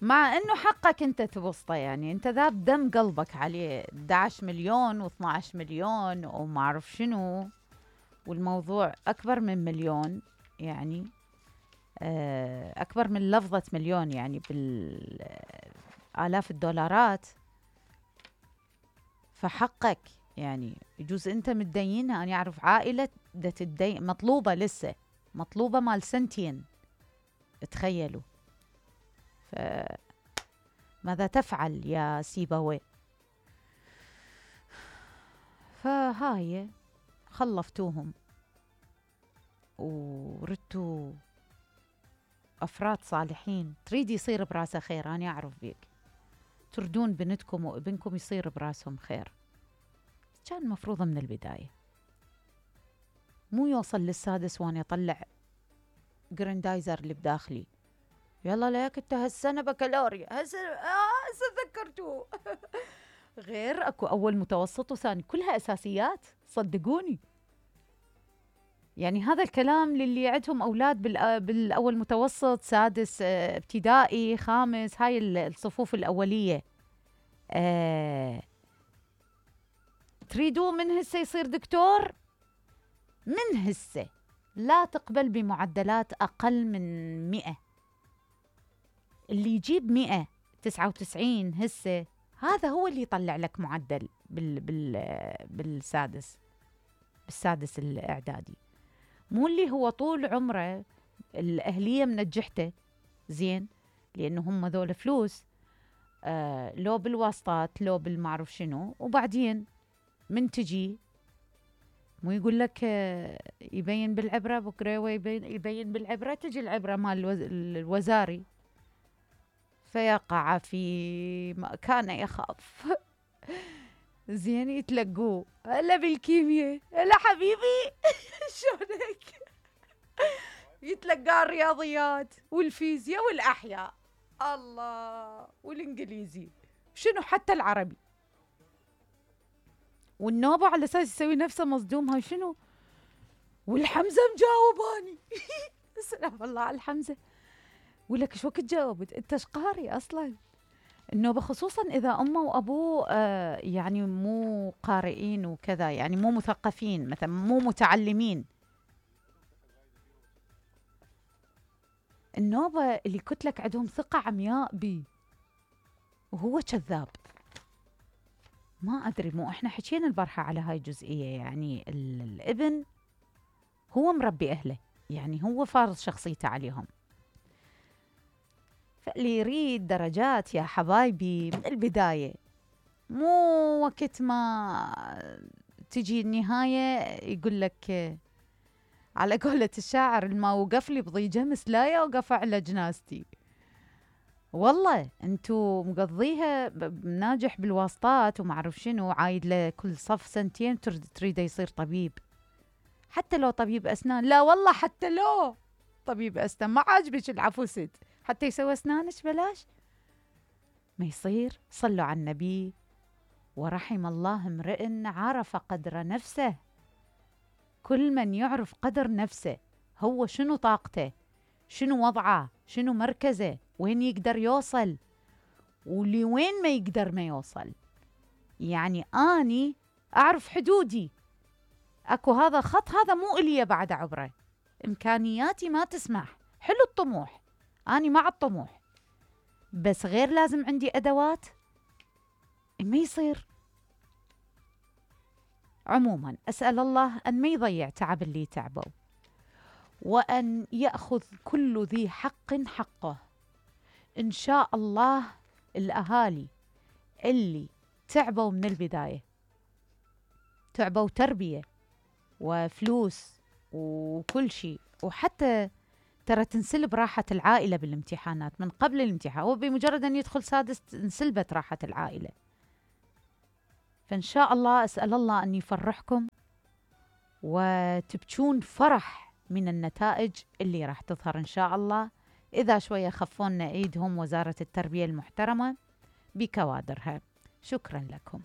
مع انه حقك انت تبسطه، يعني انت ذاب دم قلبك عليه 11 مليون و12 مليون وما اعرف شنو، والموضوع اكبر من مليون، يعني اكبر من لفظة مليون، يعني بالالاف الدولارات. فحقك، يعني يجوز انت متدينها. انا اعرف عائلة دا تدين مطلوبة، لسه مطلوبة مال سنتين، تخيلوا. ماذا تفعل يا سيبويه؟ فهاي خلفتوهم وردتوا أفراد صالحين. تريد يصير براسه خير، أنا أعرف بيك، تردون بنتكم وابنكم يصير براسهم خير. كان مفروض من البداية، مو يوصل للسادس وأنا أطلع جريندايزر اللي بداخلي. يلا لك انت هالسنة بكالوريا، هسه ذكرتوه. غير اكو اول متوسط وثاني، كلها اساسيات صدقوني. يعني هذا الكلام للي عندهم اولاد بالاول متوسط، سادس ابتدائي، خامس، هاي الصفوف الاوليه. تريدون من هسه يصير دكتور؟ من هسه لا تقبل بمعدلات اقل من 100. اللي يجيب 199 هسه، هذا هو اللي يطلع لك معدل بالسادس الاعدادي. مو اللي هو طول عمره الاهليه منجحته زين، لانه هم ذول فلوس، لو بالواسطات لو بالمعروف شنو، وبعدين من تجي مو يقول لك يبين بالعبره بكره، يبين بالعبره، تجي العبره مال الوزاري فيقع في ما كان يخاف. زين يتلقوه، هلا بالكيمياء، هلا حبيبي. شلونك؟ يتلقى الرياضيات والفيزياء والاحياء، الله، والانجليزي، شنو حتى العربي. والنوبة على اساس يسوي نفسه مصدوم، هاي شنو؟ والحمزة مجاوباني. سلام الله على الحمزة. ولك ايش وقت جاوبت؟ انت ايش قاري اصلا؟ النوبة خصوصا اذا امه وابوه يعني مو قارئين وكذا، يعني مو مثقفين مثلا، مو متعلمين. النوبة اللي قلت لك عندهم ثقة عمياء بي، وهو كذاب. ما ادري، مو احنا حكينا البارحة على هاي الجزئية، يعني الابن هو مربي اهله، يعني هو فارض شخصيته عليهم. فاللي يريد درجات يا حبايبي من البداية، مو وقت ما تجي النهاية يقول لك على قولة الشاعر، الما وقف لي بضي جمس لا يوقف على جنازتي. والله انتو مقضيها ناجح بالواسطات وما اعرف شنو، عايد له كل صف سنتين تريده يصير طبيب. حتى لو طبيب اسنان، لا والله حتى لو طبيب اسنان ما عاجبك العفوست، حتى يسوي اسنانك بلاش ما يصير. صلوا على النبي. ورحم الله امرئ عرف قدر نفسه. كل من يعرف قدر نفسه، هو شنو طاقته، شنو وضعه، شنو مركزه، وين يقدر يوصل ولوين ما يقدر ما يوصل. يعني أني أعرف حدودي، أكو هذا خط، هذا مو إلي بعد عبره، إمكانياتي ما تسمح. حلو الطموح، أني مع الطموح، بس غير لازم عندي أدوات ما يصير. عموما أسأل الله أن ما يضيع تعب اللي تعبوا، وأن يأخذ كل ذي حق حقه. إن شاء الله الأهالي اللي تعبوا من البداية، تعبوا تربية وفلوس وكل شيء، وحتى ترى تنسلب راحة العائلة بالامتحانات من قبل الامتحان، وبمجرد أن يدخل سادس انسلبت راحة العائلة. فإن شاء الله أسأل الله أن يفرحكم وتبكون فرح من النتائج اللي راح تظهر إن شاء الله، إذا شوية خفونا إيدهم وزارة التربية المحترمة بكوادرها. شكرا لكم.